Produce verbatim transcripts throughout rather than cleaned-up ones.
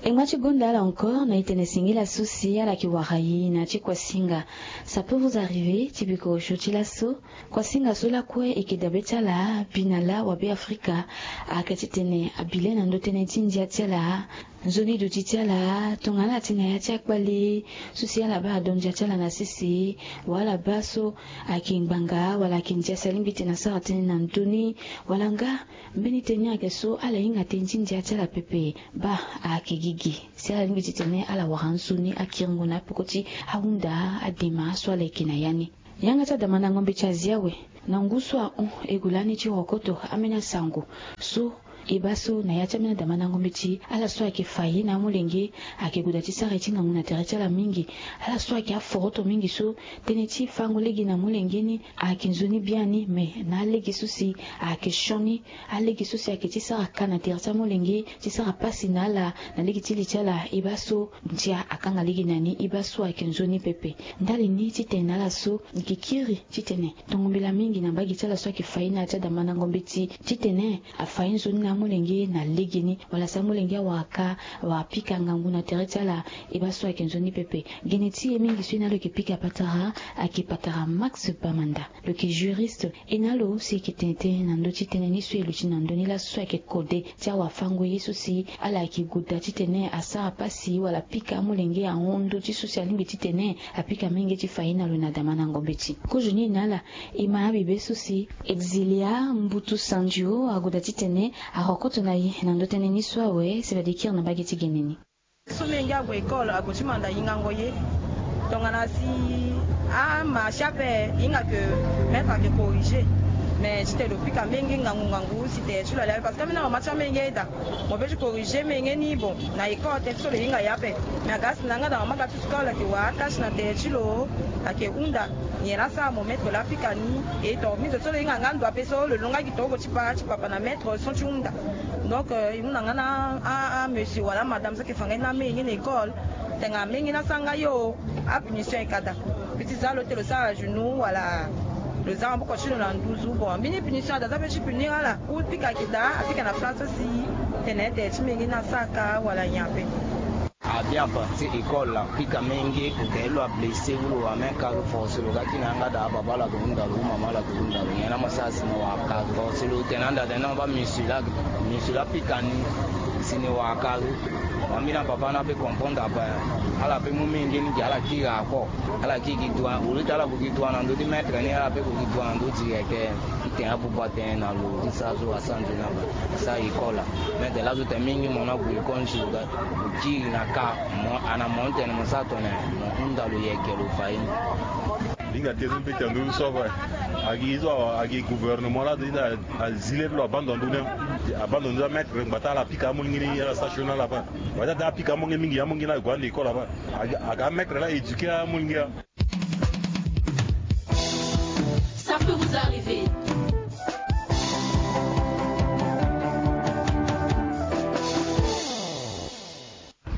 E ngba ti gonda ala encore na e tene singila so si ala yeke wara e na ya ti kuasinga. Ça peut vous arriver ti biko osio ti laso. Kuasinga so lakue e yeke dabe ti ala bi na laa wabe afrika. Ayeke titene abi le na ndö tënë ti ndia ti ala, nzoni duti ti ala tongana ala ti na ya ti akpale so si ala baa ado ndia ti ala na sese, wala baa so ayeke ngbanga wala ayeke ndia si alingbi titene asara tënë na ndö ni, wala nga mbeni tënë ni ayeke so ala hinga tënë ti ndia ti ala pepe. Baa ayeke gigi si ala lingbi titene ala wara nzoni akiringo na apeko ti ahunda adema so ala yeke na ya ni. Yanga ti adamandango mbeti azi awe na ngu so ahon e gue lani ti rokoto ambeni asango so e baa so na ya ti ambeni adamandango mbeti, ala so ayeke fa ye na amolenge ayeke gue daa ti sara ye ti ngangu na tere ti ala mingi. Ala so ayeke aforoto mingi so tënë ti fango lege na amolenge ni ayeke nzoni biani, me na alege so si ayeke sioni, alege so si ayeke ti sara ka na tere ti amolenge, ti sara pasi na ala na lege ti li ti ala, e baa so ndia akanga lege na ni, e baa so ayeke nzoni pepe. Ndali ni titene na ala so e yeke kiri titene tongo mbela mingi na mbage ti ala so ayeke fa ye na ya ti adamandango mbeti titene afa ye nzoni na amolenge na legeni, wala si amolenge awara ka, awara pika ngangu na tere ti ala, e baa so ayeke nzoni pepe. Gene ti e mingi so e na lo yeke pika patara ayeke patara Max Bamanda. Lo yeke juriste. E na lo si e yeke tene tënë na ndö ti tënë ni so e luti na ndö ni laso so ayeke kode ti awafango ye so si ala yeke gue daa titene asara pasi wala pika amolenge ahon ndö ti so si alingbi titene apika menge ti fa ye na lo na damandango mbeti. Kozoni e na ala e ma abibe so si Exilia Mbutu Sandio ague daa titene arokoto na e na ndö tënë ni so awe, si fade e kiri na mbage ti gene ni. So menge ague école, ague ti manda hingango ye. Tongana si amarche ape, e hinga ke maître ayeke corriger. Mais ti tene lo pika menge ngangu ngangu si tere ti lo alia, parce que ambeni amama ti amenge aye daa. Mo peut ti corriger menge ni, bon, na école tene ti so lo hinga ye ape. Mais aga si na yanga daa mama aga ti sukala ayeke wara akasi na tere ti lo, ayeke hunda nyen la asara mo maître la apika ni. E donc mbi zo so lo hinga nga ndo ape so lo longaki gi torobo ti pa ti papa na maître so ti hunda. Donc e hunda nga na a, a monsieur wala amadame so ayeke fa nga ye ni amenge na école. Tene amenge ni asara nga yo, apunition e ka daa. Mbi ti za lo ti tene lo sara genou wala lo za maboko ti lo na nduzu. Bon, mbeni punition ada za mpe ti punir ala. Ou pika ayeke daa, apika na place so si tene tere ti menge ni asara ka wala nyen ape. Abi afa ti école la, pika menge, tene lo ablessé ou lo wara même ka, lo forcé lo ga ti na yanga daa, papa ala ke hunda lo ou mama ala ke hunda lo, nyen la mo sara si mo wara ka? Forcé lo tene anda tene non, baa monsieur la, monsieur la apika ni si ni wara ka. Ambeni apapa ni ape comprendre ape, ala pe mu menge ni gi ala kiri encore. Ala kiri gi droit, au lieu ti ala gue gi droit na ndö ti maître ni, ala pe gue gi droit na ndö direct. Ti tene abuba tënë na lo ti sara so asara nzoni na ba asara école la. Maître laso tene mingi mo na gue école ni si lo ga lo kiri na ka, mo ana mo ni tene mo sara tongana nyen, mo hunda lo yeke lo fa ye ni. Hinga tënë so mbeti na ndö so afa. Agi so agi gouvernement la azi le ti lo abandon ndö ni. Abandon ndö ti amaître ngbata ala pika amolenge ni ala sara sioni na ala afa. Ngbata daa apika amolenge mingi, amolenge ni ague ande école afa. Aga, aga amaître la éduquer amolenge. Ça peut vous arriver.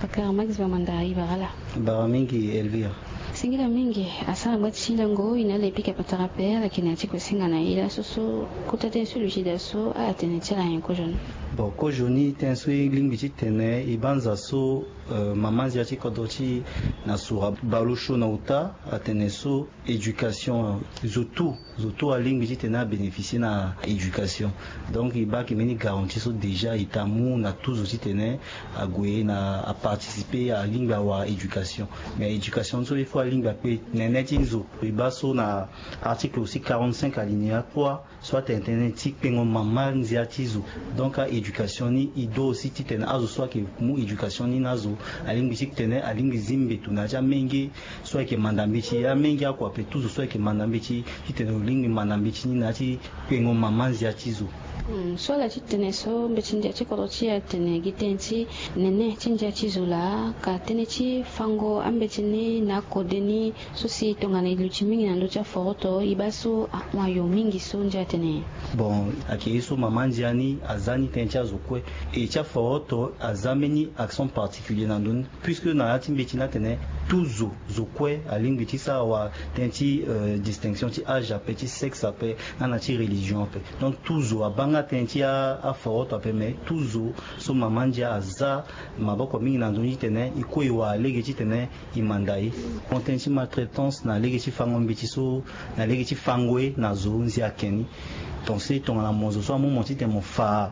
Pakara Max Bamanda, e bara ala. Bara mingi Elvire. Singila mingi. Asara ngba ti lango e na ala e pika patara ape, ala yeke na ya ti kue singa na e laso so kota tënë so e luti daa so, ala tene ti ala nyen kozoni? Bon, kozoni tënë so e lingbi ti tene e banza so, euh, mama nzia ti kodro ti e na sura baleosio na ota atene so éducation, zo tout, zo tout alingbi ti tene abénéficier na éducation. Donc e baa ayeke mbeni garantie so déjà e ta mu na tout zo ti tene ague na aparticiper, alingbi awara éducation. Mais éducation so il faut alingbi akpe nene ti zo. E baa so na article aussi quarante-cinq alinéa trois, so atene tënë ti kpengo mama nzia ti zo. Donc a-éducation ni e do aussi titene azo so ayeke mu éducation ni na azo alingbi titene alingbi zi mbeto na ya ti amenge so ayeke manda mbeti, amenge akua ape, tout zo so ayeke manda mbeti, titene lo lingbi manda mbeti ni na ya ti kpengo mama nzia ti zo. Hmm, so ala ti tene so mbeti ndia ti kodro ti e atene gi tënë ti nene ti ndia ti zo laa, ka tënë ti fango ambeti ni na akode ni, so si tongana e luti mingi na ndö ti aforoto, e baa so ahon ayo mingi so ndia atene. Bon, ayeke ye so mama ndia ni aza ni tënë ti azo kue. E ti aforoto aza mbeni accent particulier na ndö ni, puisque na ya ti mbeti ni atene Tout zo zo kue alingbi ti sara wa tënë ti distinction ti âge ape, ti sexe ape, nga na ti religion ape. Donc tout zo abaa nga tënë ti aforoto ape, mais tout zo so mama ndia aza maboko mingi na ndoni titene e kue e wara lege titene e manda e. Mo tënë ti maltraitance na lege ti fango mbeti so, na lege ti fango ye na zo nzia ake ni. Pensé tongana mo zo so amu mo titene mo fa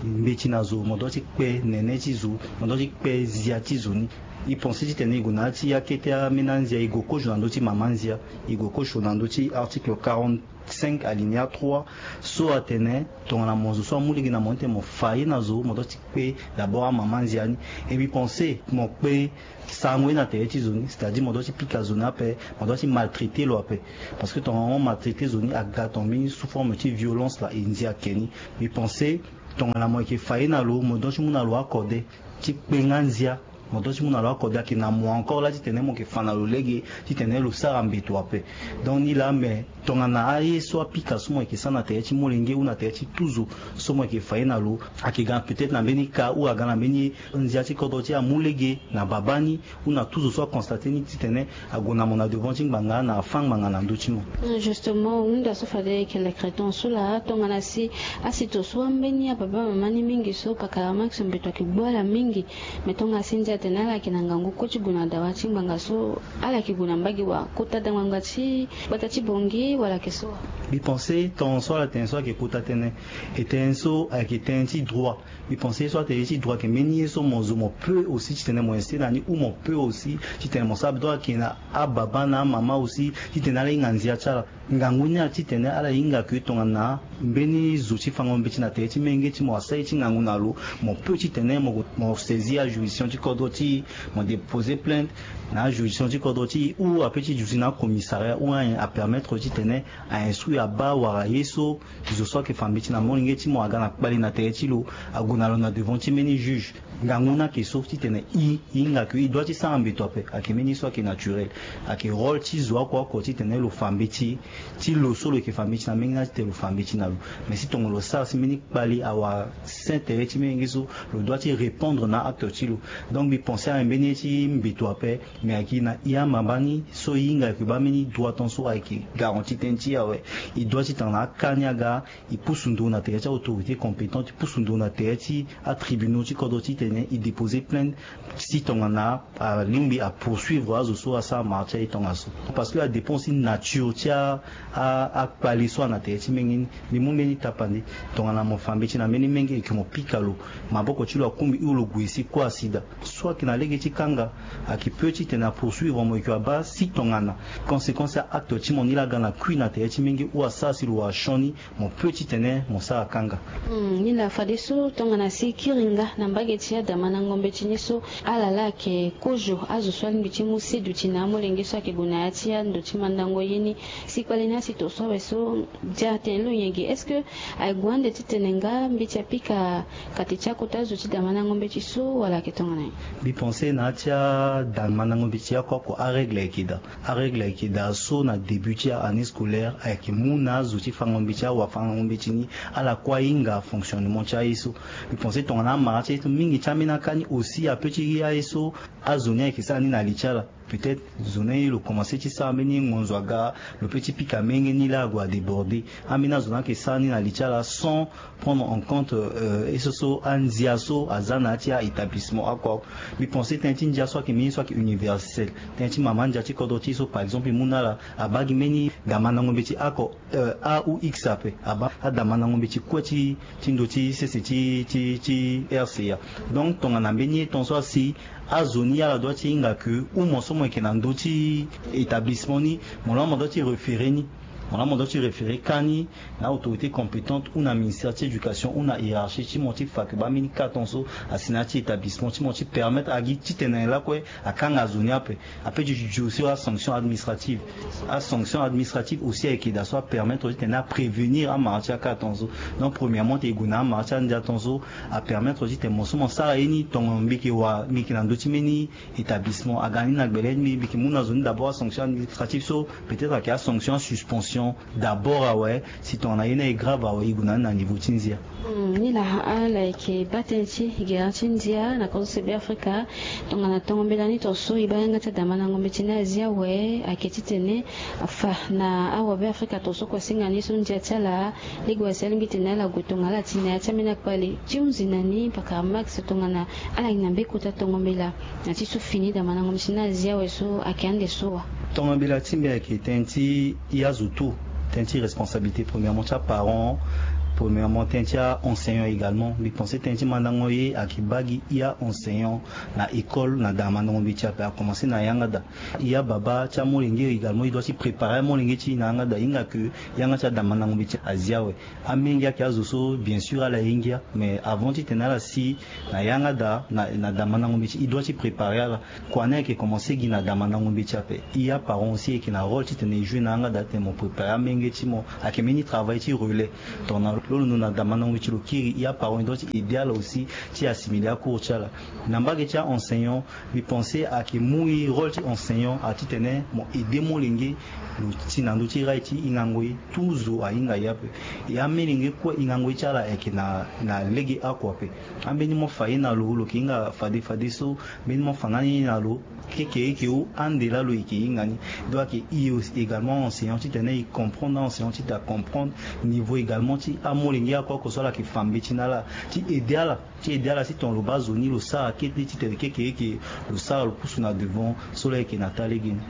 mbeti na zo, mo dua ti kpe nene ti zo, mo dua ti kpe zia ti zo ni. E pensé titene e gue na ya ti akete ameni anzia, e gue kozo na ndö ti mama nzia, e gue kozo na ndö ti article quarante-cinq alinéa trois, so atene tongana mo zo so amu lege na mo ni titene mo fa ye na zo, mo dua ti kpe d'abord amama nzia ni. E mbi pensé mo kpe sango ye na tere ti zo ni, c'est-à-dire mo dua ti pika zo ni ape, mo dua ti maltraité lo ape. Parce que tongana mo maltraité zo ni aga tongana mbeni sous forme ti violence la, e nzia ake ni. Mbi pensé tongana mo yeke fa ye na lo, mo dua ti mu na lo akode ti kpe nga nzia, mo dua ti mu na lo akode ayeke na mo encore la titene mo yeke fa na lo lege titene lo sara mbeto ape. Donc ni la, mais tongana aye so apika so mo yeke sara na tere ti molenge ou na tere ti tout zo so mo yeke fa ye na lo, ayeke ga peut-être na mbeni ka ou aga na mbeni nzia ti kodro ti amu lege na babâ ni ou na tout zo so aconstaté ni titene ague na mo na devant ti ngbanga na afâ ngbanga na ndö ti mo. Justement hunda so fade ayeke lekre ton so laa, tongana si asito so ambeni ababâ mama ni mingi so pakara max mbeto ayeke gbu ala mingi. Mais tongana si ndia atene ala yeke na ngangu kue ti gue na dawa ti ngbanga so, ala yeke gue na mbage wa kota da ngbanga ti gbata ti bongi wala ayeke so wa? Mbi pensé ton so ala tene so ayeke kota tënë. E tënë so ayeke tënë ti droit. Mbi pensé so atene ti droit ayeke mbeni ye so mo zo mo peut aussi titene mo ese na ni ou mo peut aussi titene mo sara bedo ayeke na ababâ na amama aussi titene ala hinga nzia ti ala. Ngangu ni atitene ala hinga ke tongana mbeni zo ti fango mbeti na tere ti menge ti mo asara ye ti ngangu na lo, mo peut titene mo saisir ajuridiction ti kodro ti mo déposer plainte na ajuridiction ti kodro ti ou ape ti duti na acommissariat ou apermettre titene a instruire abâ wala ye so zo so ayeke fa mbeti na molenge ti mo aga na kpale na tere ti lo, ague na lo na devant ti mbeni juge. Ngangu ni ayeke so titene e hinga ke e dua ti sara mbeto ape, ayeke mbeni so ayeke naturel. Ayeke rôle ti zo oko oko titene lo fa mbeti ti lo so lo yeke fa mbeti na menge ni atitene lo fa mbeti na lo. Mais si tongana lo sara si mbeni kpale awara sen tere ti menge so, lo dua ti répondre na acte ti lo. Donc mbi pensé ayeke mbeni ye ti mbeto ape. Mais ayeke na e amama ni so e hinga ayeke baa mbeni droit ton so ayeke garanti tënë ti e awe. E dua ti tanga na aka ni aga, e pusu ndo na tere ti autorité compétente, e pusu ndo na tere ti atribunaux ti kodro titene e déposer plainte si tongana alingbi apoursuivre azo so asara mara ti aye tongaso. Parce que adépend si nature ti a akpale so ana tere ti menge ni. Mbi mu mbeni tapande, tongana mo fa mbeti na mbeni menge eke mo pika lo, maboko ti lo akungbi ou lo gue si kue asi daa. So ayeke na lege ti kanga, ayeke peut titene apoursuivre mo eke abaa si tongana conséquence ya acte ti mo ni laa aga na kui na tere ti menge ou asara si lo wara sioni, mo peut titene mo sara kanga. Ni laa fadeso tongana si kiringa na mbage ti adamandango mbeti ni so, ala laa ayeke kozo azo so alingbi ti mu si duti na amolenge so ayeke gue na ya ti ando ti mandango ye ni. Si kpale ni asi to so awe so dia atene lo nyen ge? Est-ce que aye gue ande titene nga mbeti apika kate ti akota zo ti damandango mbeti so wala ayeke tongana nyen? Mbi pensé na ya ti adamandango mbeti oko oko arègle ayeke daa. Arègle ayeke daa so na début ti aannée scolaire ayeke mu na azo ti fango mbeti, awafango mbeti ni, ala kue ahinga fonctionnement ti aye so. Mbi pensé tongana amara ti aye so mingi ti ambeni aka ni aussi apeut ti aye so azo ni ayeke sara ni na li ti ala. Peut-être zo ni lo commencé ti sara mbeni ngonzo aga, lo peut ti pika menge ni laa ague adéborder. Ambeni azo ni ayeke sara ni na li ti ala sans prendre en compte ye so so andia so aza na ya ti a-établissement oko. Mbi pensé tënë ti ndia so ayeke mbeni so ayeke universel. Tënë ti mama ndia ti kodro ti e so par exemple e mu na ala, abaa gi mbeni damandango mbeti oko, a ou x ape, abaa adamandango mbeti kue ti ti ndo ti sese ti ti ti R C A. Donc tongana mbeni ye ton so asi, azo ni ala dua ti hinga ke ou mo so mo yeke na ndö ti établissement ni, mo laa mo dua ti référer ni, mo laa mo dua ti référer ka ni na autorité compétente ou na ministère ti éducation ou na hiérarchie ti mo ti fa ke baa mbeni ka ton so asi na ya ti établissement ti mo ti permettre agi titene lakue akanga zo ni ape. Apeut ti duti aussi asanction administrative. Asanction administrative aussi ayeke daa so apermettre titene aprévenir amara ti aka ton so. Donc premièrement ti e gue na amara ti andia ton so, apermettre titene mo so mo sara ye ni, tongana mbi yeke wara mbi yeke na ndö ti mbeni établissement aga ni na gbele ni, mbi yeke mu na zo ni d'abord asanction administrative so, peut-être ayeke asanction asuspension. d'abord awe. Si tongana ye ni aye grave awe, e gue na ni na niveau ti ndia. Ni laa ala yeke baa tënë ti gere ti ndia na kodro so Beafrika. Tongana tongo mbela ni tongaso e baa yanga ti adamandango mbeti ni azi awe ayeke titene afa na awabeafrika tongaso kua singa ni so ndia ti ala lege wasi alingbi tene ala gue tongana ala ti na ya ti ambeni akpale ti hunzi na ni pakara max tongana ala yeke na mbekota tongo mbela. Na ti so fini damandango mbeti ni azi awe so ayeke ande so wa. Tongo mbela ti mbi ayeke tënë ti e azo tout, tënë ti responsabilité premièrement ti aparent, premièrement tënë ti aenseignant également. Mbi pense tënë ti mandango ye ayeke baa gi e aenseignant na école na damandango mbeti ape, akomanse na yanga daa. E ababa ti amolenge également e doit ti préparer amolenge ti e na yanga daa, hinga ke yanga ti adamandango mbeti azi awe. Amenge ayeke azo so bien sûr ala ye ngia, mais avant titene ala si na yanga daa na, na damandango mbeti e doit ti préparer ala. Kua ni ayeke komanse gi na damandango mbeti ape. E aparent aussi e yeke na rôle titene e joue na yanga daa titene mo préparer amenge ti mo. Ayeke mbeni travail ti relais. Tongana lo londo na damandango mbeti lo kiri, e aparent e doit ti aider ala aussi ti assimiler acours ti ala. Na mbage ti aenseignant, mbi pense ayeke mu e rôle ti enseignant atitene mo aider molenge lo ti na ndö ti rail ti hingango ye. Tout zo ahinga ye ape. E amelenge kue hingango ye ti ala ayeke na, na lege oko ape. Ambeni mo fa ye na lo, lo yeke hinga fade fade so. Mbeni mo fa nga ni ye na lo, kekereke o ande laa lo yeke hinga ni. Donc ayeke e aussi également enseignant titene e comprendre na enseignant titene acomprendre niveau également ti amolenge oko oko so ala yeke fa mbeti na ala ti aider ala. Ti aider ala si tongana lo baa zo ni lo sara kete titene kekereke lo sara lo pusu na devant so lo yeke na taa lege ni.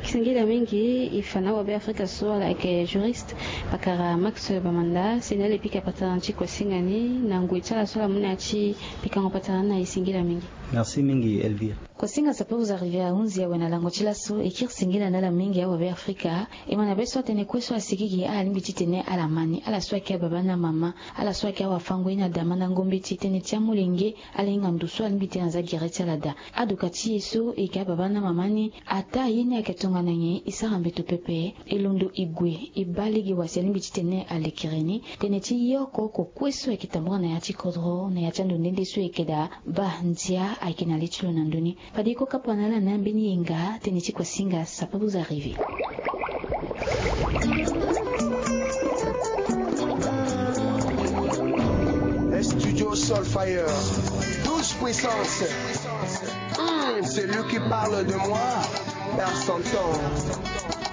Singila mingi e fa na awabeafrika so ala yeke juriste pakara max bamanda si na ala e pika patara na ti kua singa ni na ngoi ti ala so ala mu na ya ti pikango patara ni na e. Singila mingi. Merci mingi Elvire. Kua singa ça peut vous arriver ahunzi awe na lango ti laso e kiri singila na ala mingi awabeafrika. E ma na be so atene kue so asigi gi ala lingbi titene ala ma ni, ala so ayeke ababa na amama, ala so ayeke awafango ye na damandango mbeti, tënë ti amolenge, ala hinga ndo so alingbi titene aza gere ti ala daa. Adoka ti e so e yeke ababa na amama ni, ataa ye ni ayeke tongana nyen? E sara mbeto pepe. E londo e gue e baa lege wasi alingbi titene alekere ni. Tënë ti ye oko oko kue so ayeke tambula na ya ti kodro na ya ti ando nde nde so e yeke daa, baa ndia ayeke na le ti lo na ndö ni. Fade e ko kapa na ala na ambeni yenga tënë ti kua singa ça peut vous arriver. Studio Solfire, douze puissance. Hmm, celui qui parle de moi perd son temps.